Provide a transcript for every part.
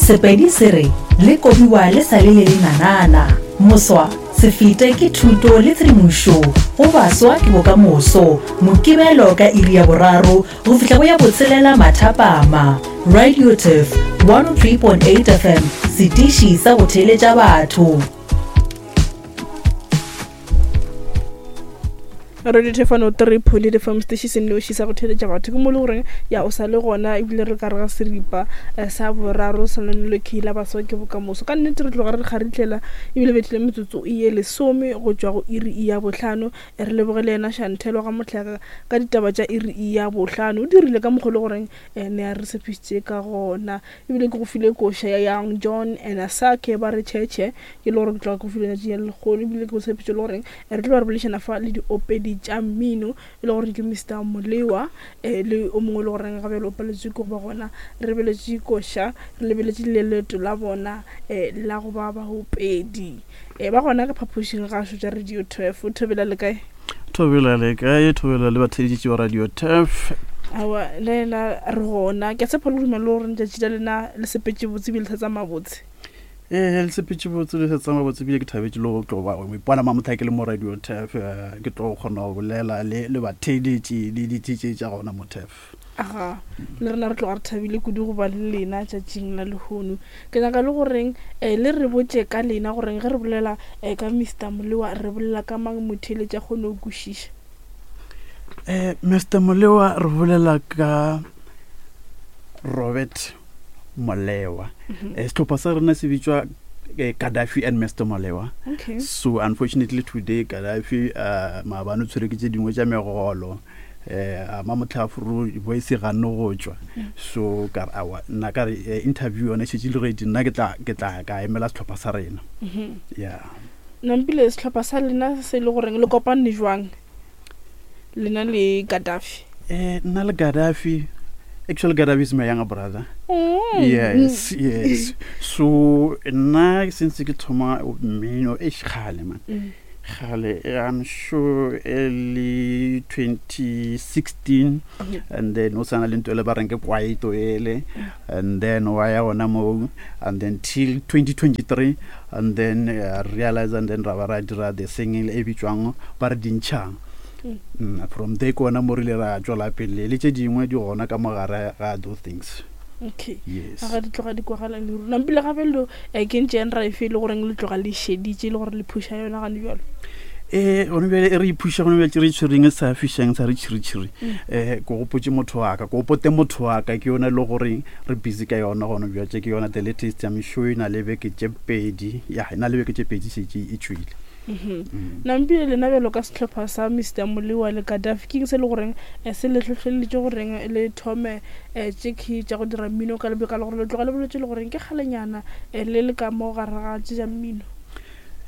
Sepedi se re, Le kobiwa le sa le le lenanana. Moswa, se fete ke thuto le tshedimošo go baswa ke bokamoso. Mokibelo ka iri ya boraro go fihla go ya botshelela mathapama. Radio Turf 103.8 FM, setiši sa go theeletša batho. Radio Thefano 3 Pholi le fam station se nnoši sa go theletša batho ke mo le goreng ya o sa le gona ebile re ka re ga seripa eh, sa boraro sa lenelo ke la baswa ke bokamoso ka nnete re tloga re kgaritlela ebile bethile metsotso e ye lesome go tšwa go iri e ya bohlano eh, re leboge le yena Shantelo ga mohlaka ka ditaba tša iri e ya bohlano o dirile ka mokgwa le goreng eh, ne a re tshepišitše ka gona ebile ke go file koša ya Young John and Asake ba re tšhetšhe ke le gore ke tloga ke go file letšatši ya lekgono ebile ke go tshepetše le goreng re tlo ba re boledišana fa le diopedi tša mmino e le gore ke Mr Molewa um le o mongwe e le goreng ga bjale o paletswe ke go ba gona re lebeletše koša re lebeletše le leeto la bona um la go ba baopedi um ba gona ka phaphošing gašo tša radio turf thobela le kae Thobela le kae? Thobela le batheeletši ba Radio Turf. Aowa, le ena re gona. Ke a tshepa le dumela le gore letšatši la lena le sepetše botse ebile le sa tsamaya botse. Ee, le sepetše botse le sa tsamaya botse ebile ke thabetše le go tlo ba go ipona mamotha ke le mo Radio Turf. Eh, ke tlo kgona go bolela le le batheeletši le di-DJ tša gona mo Turf. Aga, le rena re tloga re thabile kudu go ba le lena tšatšing la lehono. Ke nyaka le goreng eh, le re botše ka lena goreng ge re bolela eh, ka Mister Molewa re bolela ka mang motheeletši a kgone go kwešiša. Eh, Mister Molewa re bolela ka Robert Molewa. Mm -hmm. eh, sehlopha sa rena se bitšwa eh, Gaddafi and Mr Molewa. Okay. So unfortunately today Gaddafi uh, maabane o tshwere ke tše dingwe tša megolo. eh a ma motlhafuru voice ga no go tšwa so ka re awa nna ka re eh, interview yone šetše le ready nna ke tla ke tla ka emela sehlopha sa rena yeah Nampile sehlopha sa lena se e le goreng le kopane jwang lena le Gaddafi? eh nna le Gaddafi actually Gaddafi is my younger brother mm. yes yes so nna since ke thoma mmino e kgale man mm. Kgale, I'm sure early 2016 and then o sana le nto ele ba reng ke kwaito ele and then wa ya gona moo and then till 2023 and then uh, realize and then ra ba ra dira the singing e bitswang ba re dintšhang mm. from there ke gona mo rile ra tswela pele le tše dingwe di gona ka mogare ga those things okay yes ga di tloga di kwagala le rona mpile gape lo eh, ke ntše eng ra efe e le goreng le tloga le šeditše e le gore le phuša yona gane bjalo ee gone bjale e re iphuša gone bjale re itshwereng e sa fišang sa re tšhiritšhiri um ko gopotse motho wa ka ko gopote motho wa ka ke yone e le goreng re busy ka yona gone bjatše ke yona the latest ya mešo e na le beke tše pedi ya e na le beke tše pedi šetše e tšwile mhm. nampile lena bjalo ka sehlopha sa mr molewa le kadafi ke eng se le goreng eh, se le hlohleleditše goreng le thome eh, tše key tša go dira mmino ka lebaka la gore le tloga le boletse le goreng ke kgalenyana eh, le le ka mo gare ga tše tša mmino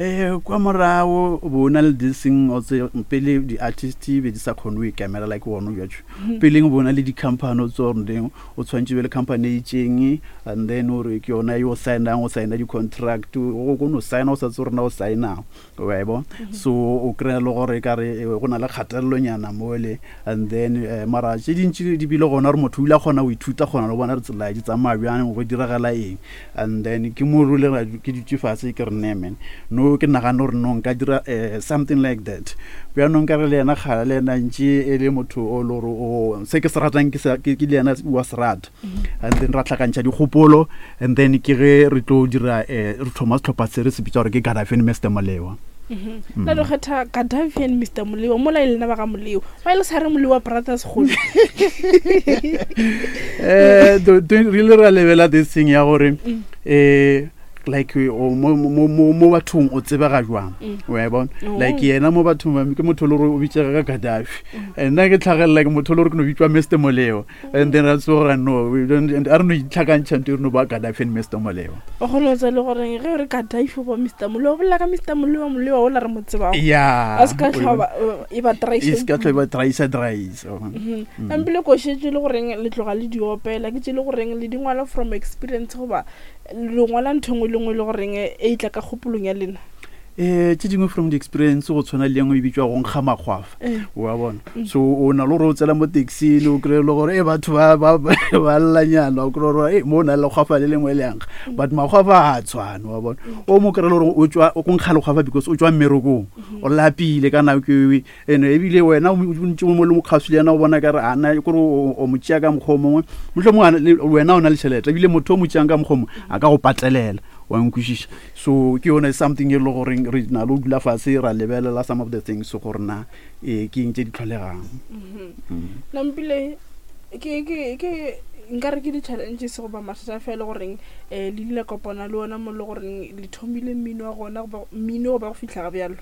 um kwa morago o bo o na le this thing o tse pele di-artist be di sa kgone go ikemela like gone bjatso mhm. peleng bo na le di-company o tse goreng o tshwanetse be le company e itseng and then o re ke yona yo signang o signa di-contract o ko no signa o sa tse rena o signang wa e bona mhm. so o kry-a le gore ka re eh, go na le kgatelelonyana mole and then eh, mara tše dintši di bile gona gore motho o ile a kgona go ithuta kgona le bona re tsela di tsamaya bjang go diragala eng and then ke mo rule ke dutše fase ke re ne man no ke nagane gore no nka dira eh, something like that bjanong ka re le yena kgala le yena ntše e le motho o le gore o se ke se ratang ke le yena wa se rata mm-hmm. and then ra tlhakantšha dikgopolo and then ke ge re tlo dira eh, re thoma setlhopha se re se bitsa gore ke Gaddafi Mr Molewa mm-hmm. la lo kgetha Gaddafi and Mr Molewa mola e lena ba ga Molewa ba e le sa re Molewa brothers golo eh re ile ra lebela this thing ya gore mm. eh like mo mo mo mo bathong o tsebega jwang mm. wa e bona oh. like yena mo bathong ba ke motho le gore o bitsega ka Gaddafi mm. nna ke tlhagelela ke motho le gore ke no bitswa Mr Molewa and then ra tsoga no we don't and a re no itlhakantšha nto re no ba Gaddafi and Mr Molewa o kgone go tsa le gore ge re Gaddafi ba Mr Molewa bolela ka Mr Molewa Molewa o la re mo tsebago yeah a se ka tlhoba e ba traisa e se ka tlhoba traisa traisa mm-hmm. ampile ko šetše le goreng le tloga le di opela ke tše le goreng le di ngwala from experience goba le ngwala ntho engwe le nngwe le goreng e tla ka kgopolong ya lena. Um tše dingwe from the experience go tshwana le engwe e bitswa go nkga makgwafa eh. wa bona mm. so o na le gore o tsela mo taxi le o kry-e le gore e batho ba llanyana o kry gore e mo o na le lekgwafa le lengwe le yankga mm. but makgwafa ga a tshwane wa bona mm. o mo kry-e le gore o tswa o nkga lekgwafa because o tswa mmerekong mm-hmm. o lapile ka nako ewe ene ebile wena o ntse mo le mokgaswi le yena o bona kare ana kore o mo tšea ka mokgwa o mongwe motlho mongwe wena o na le tšhelete ebile motho o mo tšeang ka mokgwa o mongwe a ka go patelela wa nkwešiša. So ke yone something e le goreng re na le go dula fase ra lebelela some of the things gore na ee ke eng tse di tlholegang. Mm-hmm. Mm. Nampile ke ke ke nka re ke di-challenges goba mathata fela goreng um le ile kopana le ona mo le goreng le thomile mmino wa gona goba mmino goba go fitlha ga bjalo.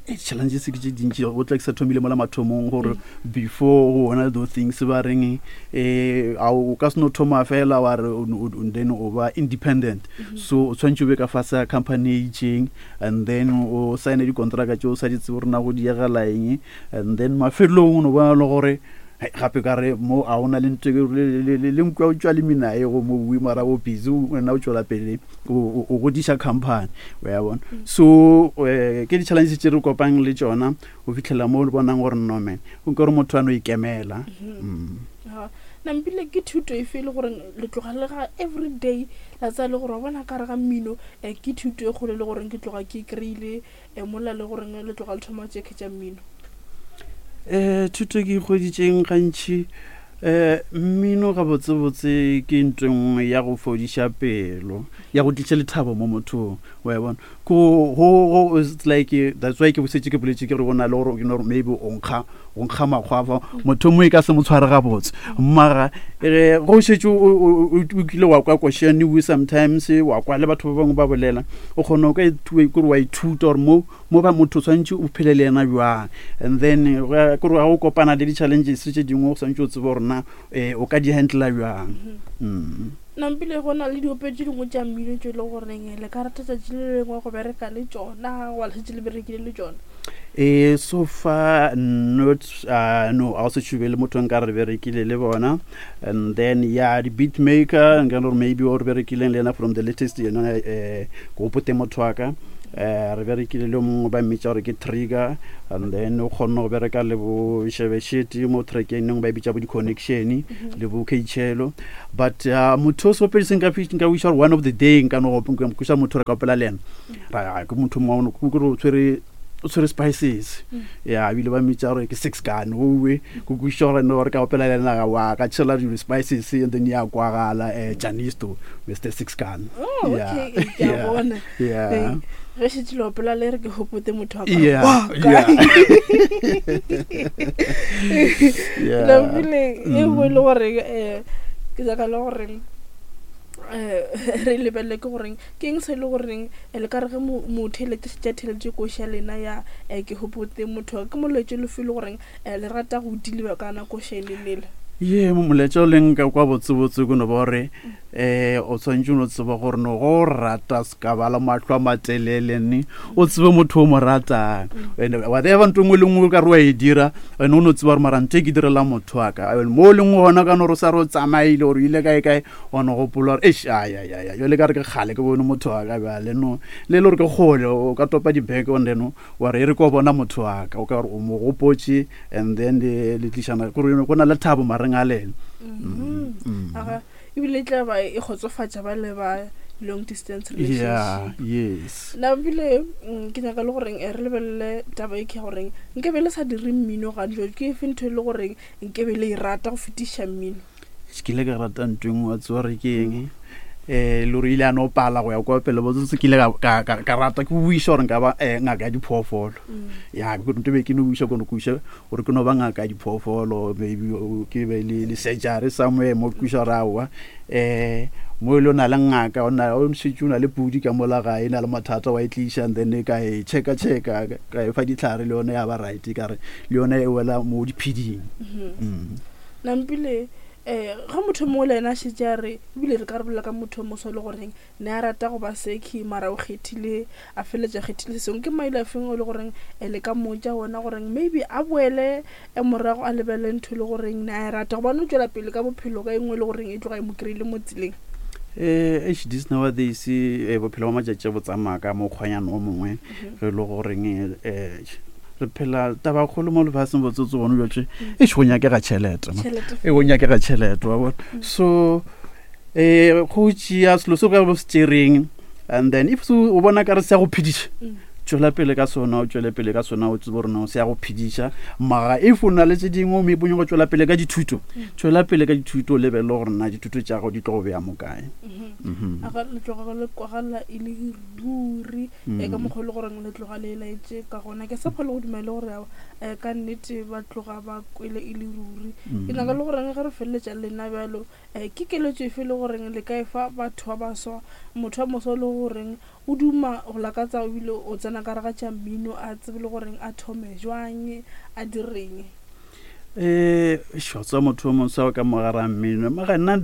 Challenges ke tše dintši go tla ke sa thomile mola mathomong gore mm. before go ona those things ba reng um a o ka se no thoma fela wa re then o ba independent mm -hmm. so o tshwanetse o be ka fase ya company e itseng and then o signe dikontraka tse o sa di tsebe gore na go diegela eng and then mafelelong o no bona le gore gape ka re mo a o na le ntho le nkwa o tswa le menae go mo bue mara o busy wena o tswela pele o godiša company o ya bona mm. so eh, ke di-challenge tse re kopang le tsona go fitlhela mo o bonang gore no man o nke gore motho a no ikemela mm-hmm. mm. nampile ke thuto efe e le gore le tloga le ga every day la tsaya le gore wa bona ka re ga mmino um ke thuto e kgolo e le goreng ke tloga ke kry-ile um mola le goreng le tloga le thoma tšekhe tša mmino? Um thuto ke ikgweditšeng gantši um mmino gabotsebotse ke ntho e nngwe ya go fodiša pelo ya go tliša lethabo mo mothong wa e bona ko go it's like that's why ke bosetše ke boletše ke re go na le gore you know maybe o nkga go nkga makgwafa motho mongwe e ka se mo tshware gabotse mara eh, go šetše o kile wa kwa košane we sometimes wa kwa le batho ba bangwe ba bolela o kgona o ka kore wa ithuta gore mo mo ba motho o tshwanetse o phele le yena jwang and then kore ga o kopana le di-challenges tše dingwe o tshwanetse o tsebe gore na um o ka di handla jwang mm-hmm. mm. Nampile go na le diopedi tše dingwe tša mmino tše e le goreng le ka rata tšatši le lengwe go bereka le tšona goba le šetše le berekile le tšona. E so far not uh, no a go se tšhube le motho nka re berekile le bona and then ya di beat maker nka gore maybe o re berekileng le yena from the latest yena eh go pote motho wa ka eh re berekile le mongwe ba mmitša gore ke trigger and then o kgonne go bereka le bo shebeshete mo trackeng nengwe ba e bitša bo di-connection mhm. le bo kchelo but uh, motho o seopedi se nka nka wiša gore one of the day nka no kwiša motho re ka opela le ena ra ke motho mongwe kore o tshwere o tshwere spices mm. ya ebile ba mmitša gore ke six gun owe ko kwiša gore no re ka opela le ena wa ka tšhela dilo spices and then ya kwagala um janisto mr six gun oh, yeah. yeah. yeah. ge šetse le opela le re ke gopote motho wa ka e nngwe e le gore um ke nyaka le gore um re lebelele ke goreng ke eng se e le goreng le ka re ge motheeletše šetše a theeletše koši ya lena ya um ke gopote motho wa ke molaetša o fe e le goreng um le rata go deliver ka yona koša e le lela? Ye molaetša o leng ka kwa botsebotse ke no ba gore um o tshwanetse o no tseba gore no go rata se ka ba le mahlo a matelele ne o tsebe motho o mo ratang and whatever ntho nngwe le nngwe o ka re wa e dira and o no tseba gore mara ntho e ke direla motho wa ka and mo o leng gona ka no re sa re o tsamaile gore o ile kae kae wa no gopola gore eish ayayaya jale ka re ke kgale ke bone motho wa ka bjale no le e le gore ke kgole o ka topa dibeke and then wa re e re ko bona motho wa ka o ka gore o mo gopotše and then le tlišana kore go na le thabo mareng a lena mm-hmm. Ebile e tla ba e kgotsofatša ba le ba long distance relationship. Yeah, yes. Na ebile mm, ke nyaka le goreng eh, re lebelele taba e ke ya goreng nke be le sa dire mmino gantši ke efe ntho e le goreng nke be le e rata go fetiša mmino. Ke ile ka rata ntho e nngwe wa tseba gore ke eng um le gore ile a no pala go ya kwa pele botsotse ke ile ka rata ke buisa gore nka ba um ngaka ya diphoofolo ya ke ntho be ke no buisa kono ke buisa gore ke no ba ngaka ya diphoofolo maybe ke be le le surgery somewhere mo ke buisa gore aowa um mo e le o na le ngaka o na o šetše o na le pudi ka mola gae e na le mathata wa e tliša and then ka e checka checka ka e fa ditlhare le yone ya ba right ka re le yone e wela mo dipheding mm. Nampile um ge motho mongwe le ena a šetše a re ebile re ka re bolela ka motho o moso e le goreng ne a rata go ba sekhi mara o kgethile a feleletša a kgethile se sengwe ke maele a feng o le goreng um le ka mmotša ona goreng maybe a boele um morago a lebelele ntho e le goreng ne a e rata gobane o tšwela pele ka bophelo ka e nngwe e le goreng e tloga e mo kry-ile mo tseleng. Eh, eish, this nowadays eh, bophelo ba matšatši bo tsamaya ka mokgwanyana o mongwe mhm. re le goreng eh, re phela tabakgolo mo lefaseng botsotse gone jotse mm. e go nyakega tšhelete e go nyakega tšhelete wa bona mm. so um go tšea selo se ka bo se tšereng and then if o bona ka re se ya go phediša mm. tšwela pele ka sona o tšwele pele ka sona o tsebe gore no se ya go phediša mara if o na le tse dingwe o meponye go tšwela pele ka dithuto mm. tšwela pele ka dithuto o lebelele gore na dithuto tša gago di tlo go beya mo kae mm-hmm. mm-hmm. aga le tloga le kwagala e le ruri e ka mm. mokgwa le goreng le tloga le laetse ka gona ke sa phole go dumele gore eh, ka nnete ba tloga ba kwele e le ruri ke nyaka le goreng ge re feleletša lena bjalo um ke keletšo efe le goreng le ka e fa batho ba baswa motho wa moswa le goreng O duma go lakatsa o bile o tsena ka gare ga tša mmino a tsebe le goreng a thome jwang a direng. Um šotsa motho o moswa ka mogare a mmino mara nna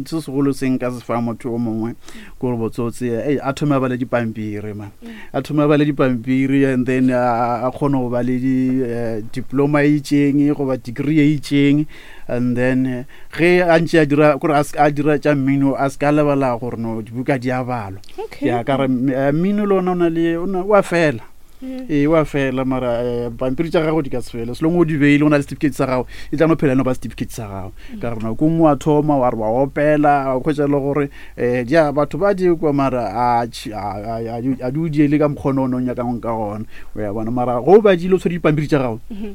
se segolo se nka se fa motho o mongwe ke gore botsotse ei a thome a bale dipampiri man mm. a thome a bale dipampiri and then a kgone go ba le di-diploma eh, e itseng goba degree e itseng and then eh, ge a ntše a dira kore a dira tša mmino a se ka lebala gore no dibuka di a balwa ya ka re eh, mmino le ona o na le o a fela mm. ee o a fela mara eh, pampiri tša gago di ka se fele selong o di beile o na le certificate sa gago e tla no phela no ba certificate sa gago mm. ka gore nako nngwe wa thoma wa re wa opela wa kgwetsa le gore um ja batho ba di kwa mara a di o diele ka mokgona o ne o nyakang ka gona o ya bona mara go o badile o tshwere dipampiri tša gago mm-hmm.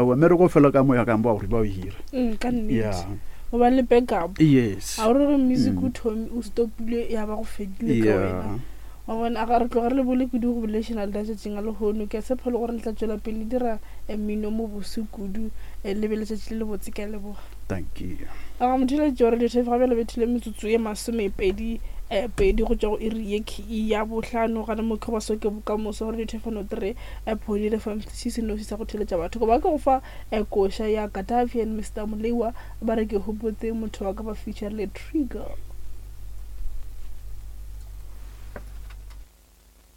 Wa mmereko o fela ka moya kang ba gore ba o hira. Mm, ka nnete. Yeah. O ba le backup. Yes. A o re music o thomi o stopile ya ba go fedile ka wena. Wa bona a ga re tloga re le bole kudu go bolešana le letšatšing a lehono. Ke a tshepa le gore le tla tšwela pele le dira eh, mmino mo bose kudu. Eh, le be letšatši le lebotse ke a leboga. Thank you. A ga motheeletši wa Radio Turf ga bjale bethile metsotso ye masomepedi eh, pedi go tšwa go iri ye ya bohlano gana mo ke go soke bokamoso Radio Turf 103 Point FM se se noši sa go theletša batho goba ke go fa eh, koša ya Gaddafi and Mr Moleiwa ba re ke hopotse motho wa ka ba feature le Trigger.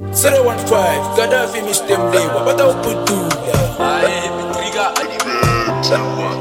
015 Gaddafi Mr. Mlewa ba tla o putula.